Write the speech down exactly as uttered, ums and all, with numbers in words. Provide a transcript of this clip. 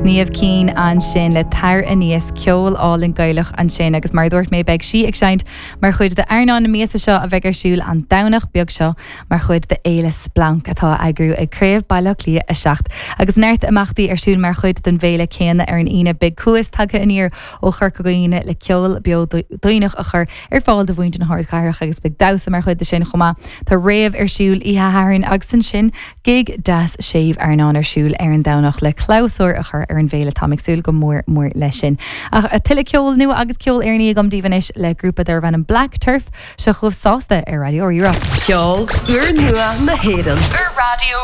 Niamh Keane ansin le Tar Aníos ceol álainn Gaelach ansin agus mar dúirt mé beidh sí ag seinnt mar chuid de Airneán na míosa seo a bheidh ar siúl an Domhnach beag seo mar chuid de Fhéile Splanc atá á eagrú ag Craobh Baile Átha Cliath a seacht. Agus neart imeachtaí ar siúl mar chuid den bhféile céanna ar an Aoine beidh Cuas tagtha aniar ó Chorca Dhuibhne le ceol beo daoineach a chur ar fáil do mhuintir na hardchathrach agus beidh damhsa mar chuid de sin chomh maith. Tá rave ar siúl oíche Shathairn agus ansin gig deas séimh airneáin ar siúl ar an Domhnach le clabhsúr a chur ar an bhféile táim ag súil go mór mór leis sin. Ach a tuilleadh ceol nua agus ceol Éireannach agam daoibh anois le grúpa darb ainm Black Turf seo chugaibh Sásta ar Raidió Rí-Rá. Ceol úrnua na hÉireann Ar Raidió